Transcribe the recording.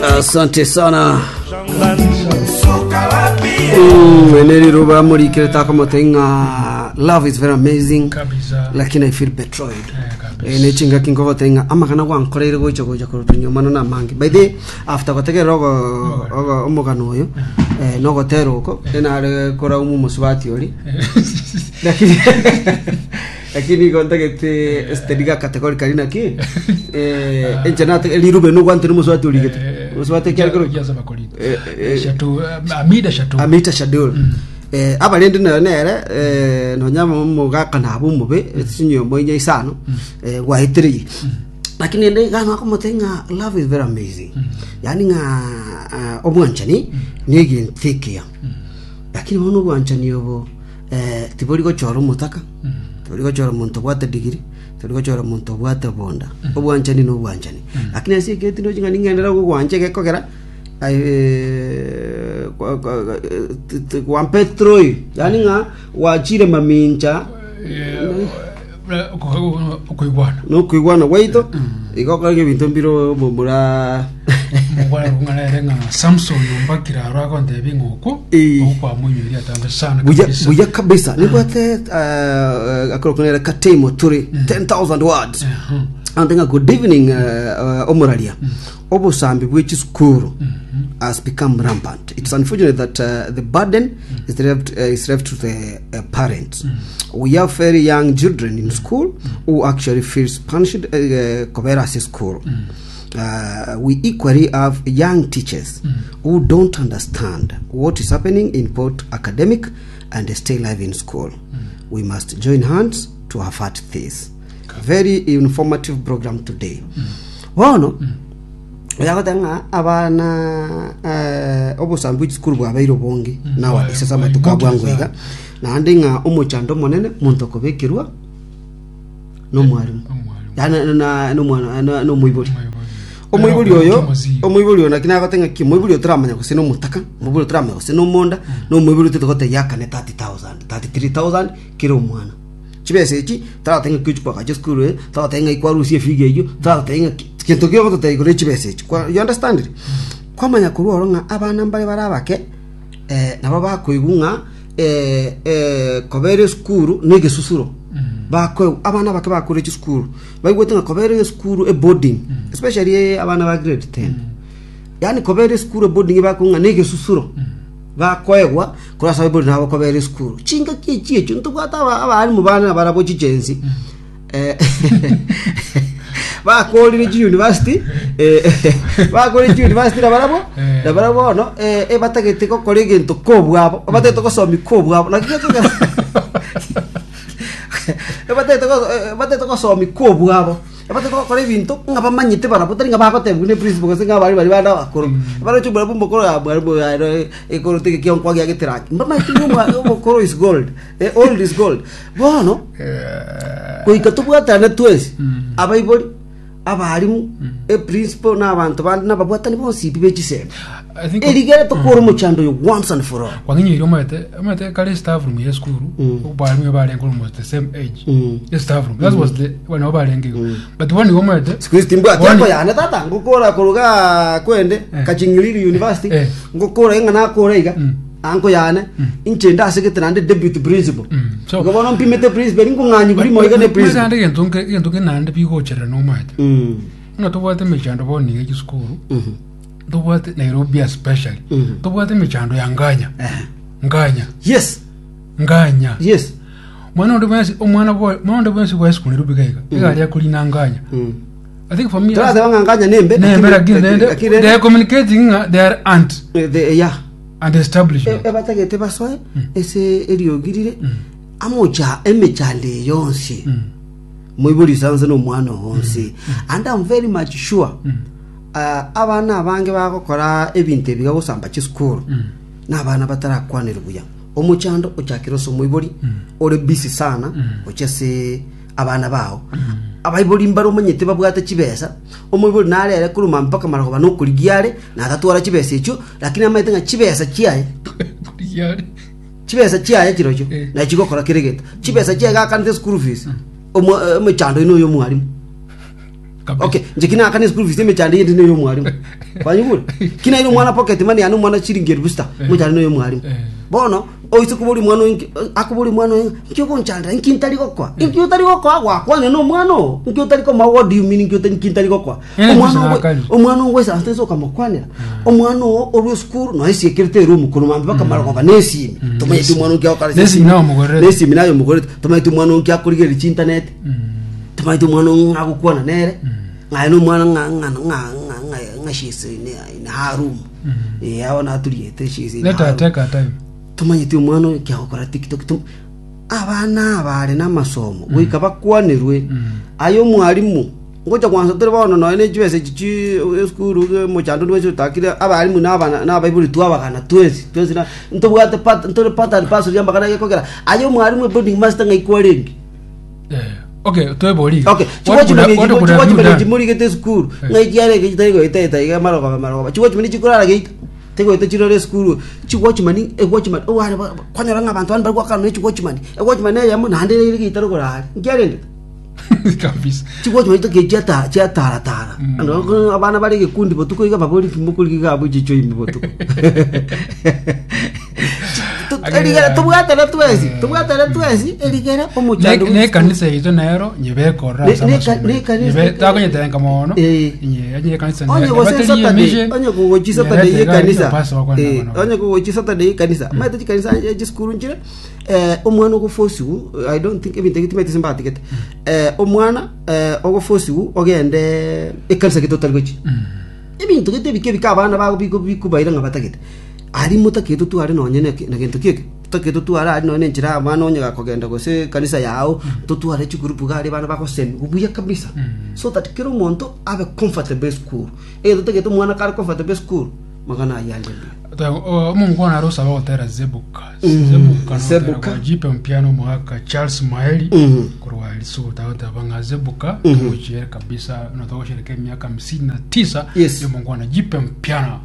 Asante sana. Mm, ene riruba murikire takomote ng'a love is very amazing Kabisa. lakini I feel betrayed. Eh, kabisa. Eh, ne chingaki nkogote ng'a amagana gwankoreire gocha gocha korwa nyuma no namange. By the after gotegerera ogo ogo omogano oyo eh, nogotera oko enare koraumu omosubati ori lakini Lakini igo ntagete steady categorically naki eh enche nate rirube nogwante nomosubati origete omosubati ekiare kero Eh, eh, amida shatu amita shadul eh abarende nayo nere eh nonya omogaka nabo omobe chinyomba inya isano eh gwaetereirie lakini ende iga nakomotebia ng'a love is very amazing yaani ng'a ah, obwanchani na egento ekiya lakini bono obwanchani obo Eh, tibori gochora omotaka, tibori gochora omonto obwate degree, tibori gochora omonto obwate obonda. Obwanchani na obwanchani. Lakini ase egento ndoche ng'a ning'enderere gogwancha egekogera eh, kwa- kwa- eh, ti- ti- gwampetroi yaani ng'a gwachire mamincha okoigwana nokoigwana gwaito igo okore ebinto mbire omomura Omogwera kung'ana ere ng'a Samson ombakire aro agontebia ng'a okwo Eh. okwo kwamoinyoria atambe sana buya kabisa. buya kabisa nibwate uh, akorokonera katemo turi 10000 words Ehe. Ante ng'a good evening uh, uh, omoraria obosambi bwe chisukuru has become rampant it's unfortunate that uh, the burden is left, uh, is left to the uh, parents we have very young children in school who actually feels punished uh, uh, kobera ase school Uh, we equally have young teachers who don't understand what is happening in both academic and stay life in school. We must join hands to avert this. Very informative program today. Bono, oyagoteba ng'a abana eh, obosambi bwe chisukuru bwabeire obonge nowadays ase amatuko a bwango iga naende ng'a omochando omonene monto okobekerwa nomwarimu Omwarimu. yaani na- nomwana na- nomoibori Omoibori. omoibori oyo Omozigo. omoibori oyo naki nagote ng'aki omoibori oyo toramanya gose nomotaka omoibori oyo toramanya gose nomonda na omoibori otete gotebia akane 30000 33000 kera omwana chibesa echi toratebe ng'aki ochi koagacha esukuru eye toratebe ng'aki kwarusia efigi eywo toratebe ng'aki gento ki ogototebia igoro ya chibesa echi kwa you understand it? Kwamanya korwa oro ng'a abana mbare bare abake eh, nabo bakoigwa ng'a eh, eh, kobera esukuru na egesusuro bakoegwa abana abake bakore chisukuru baigwete ng'a kobera esukuru eboarding especially eh, abana ba grade 10 yaani kobera esukuru eboarding bakoigwa ng'a na egesusuro bakoegwa korwa ase abaibori nabo kobera esukuru chingaki echi echio ntobwate aba- abalimu bane nabarabwo chigenzi Eh, bakorire chiuniversity eh, bakorire chiuniversity nabarabwo Eh. nabarabwo bono eh, ebatagete gokora egento kobwabo batagete gosomi kobwabo naki gekogera ebatagete go- eh, batagete gosomi kobwabo ebatagete gokora ebinto ng'a bamanyete barabwo tari ng'a bagotebigwa ne principal gose ng'a abarimu baria bande abakoro baroche omwarimu omokoro ah, mwarimu oyo ere ekorote egekionkwa giageteraki mbamaete ng'a omwa- omokoro is gold eh, old is gold Bono goika tobwatane twensi, abaibori, abarimu, eprinciple na abanto bande na ababwatani bonsi pi be chisemi. I think- Erigere tokore omochando oyo once and for all. kwang'inyoire omanyete omanyete kare staff room ya esukuru abarimu barenge almost the same age Mm. the staff room that was the nabo barenge igo but bono igo omanyete Siku hizi timbwati Bono- yako yane tata ngokora koruga kwende Eh. Kaching'iriri University Eh. ngokora ing'a nakora iga Anko yane, inche ndasegete naende deputy principal. So- Igo bono mpimete principal, nkong'anyigwa rimo iga ne principal. Naende egento nke egento nke naende bigocherera nomanyete Mm. ng'a tobwate emechando bono iga chisukuru Mhm. tobwate Nairobi especially Mhm. tobwate emechando ya nganya Eh. nganya Yes, nganya yes. mwana onde bwensi omwana bwa mwana onde bwensi bwa esukuru Nairobi gaiga iga aria akorina nganya Mm. I think for me Torateba ng'a nganya nembe, nembe lakini naende lakini they are communicating ng'a they are ant Eh, the- yeah. and establishment E- ebatagete basoe ase eriogi rire amocha emechando eye yonsi moibori isanse na omwana oo onsi and I'm very much sure ah, abana abange bagokora ebinto ebi gagosamba chisukuru na abana batarakwaneri buya omochando ochakire ase omoibori ore busy sana gochia ase abana bao abaibori mbare omanyete babwate chibesa omoibori narere korwa mpaka marogoba nokorigia are natatwara chibesa echio lakini amaete ng'a chibesa chiaye chibesa chiaye chirochio Eh. nachi chigokora kera egento chibesa chiaye gakanete school fees omo- eh, omochando oino oyo omwarimu. Kabisa. Okay, nche kina akane school fees emechando yende neyo omwarimu. Kwanyigure? Kina ire omwana pocket money yane omwana chiringi elfu sita, Eh. mochando neyo omwarimu. Eh. Bono oise kobori omwana oyo inki akobori omwana oyo inki ogonchandera inki ntari gokoa? Inki otari gokoa gwakwana na omwana oo? Inki otari komoa what do you mean inki ota- inki ntari gokoa? Eh, Omwana gose ogo nakari. omwana ogoisaransa inse okamokwanera omwana oo orwe esukuru noe esiekerete eroom korwa mambia mpaka marogoba na esimi tomanyeti omwana onki agokora ase Nesimi naye omogorete. nesimi naye omogorete tomanyeti omwana onki akorigereria chintaneti tomanyeti omwana oo ng'a agokwana nere ng'a na omwana ng'a ng'a ng'a ng'a ng'a ng'a she's in in her room eh abo naturiete she's in Let her her room take her time. tomanyeti omwana oyo kiagokora tiktok tom abana aba are namasomo goika bakwanerwe aye omwalimu ngocha kwansa tore bono nonya ne chibesa echi chi esukuru ge mochando onde bwensi otakire abalimu na abana na abaibori twabagana twensi twensi na ntobwate part ntore part and parcel ya amagana gekogera aye omwalimu eboarding master ng'ai kwarenge Eh, okay, twebori iga. Okay, What could have- what could have you chiwatchman done? chimorigete esukuru Eh. ng'ai chiarenge chitari goeta eta iga marogoba marogoba chiwatchman chikorara geita tigoeta chirore esukuru chiwatchman ewatchman oware ba- kwanyora ng'a abanto bande bari goakana ne chiwatchman ewatchman eyemo naende ere geita rogoro aria nkiarendete Kabisa. Chiwatchman chitoke chiata chiataratara Ano, abana bare egekundi botuko iga babori mokorigia iga abwo chicho ime botuko Erigere tobwatane twensi tobwatane twensi erigere omochando Ne- nekanisa yaito nero nyebekorera ase amasomo. Takonyetenka mono Eh. Nye- onye ekanisa onye nere- gose nebaterie Saturday emission, onye kogochi Saturday nyerete iga yekanisa pastor bakwana Eh, nabo. onye kogochi Saturday yekanisa maete chikanisa eh, chisukuru nchire eh, omwana ogofosiwu I don't think ebinto ebi timanyete ase mbatigete eh, omwana eh, ogofosiwu ogende ekanisa gete otari gochi Ebinto gete ebike ebike abana bago bigo bikobaira ng'a batagete. Aria motakete totware nonye na na gento kieke, totagete totware aria nonye na enchera abana onye gakogenda gose ekanisa yao, totware chigroup iga aria abana bagosemiwa buya kabisa. So that kera omonto abe comfortable esukuru. Egento totagete omwana kare comfortable esukuru, magana ayio ande mbuya. Omongwana are osaba gotera Zebuka. Zebuka nogotera Zebuka. kwa Jipe Mpiano omogaka Charles Maeli korwa Lisugu tagoteba ng'a Zebuka togochiere kabisa na togoshereka emiaka 59 Yes. yomongwana Jipe Mpiano.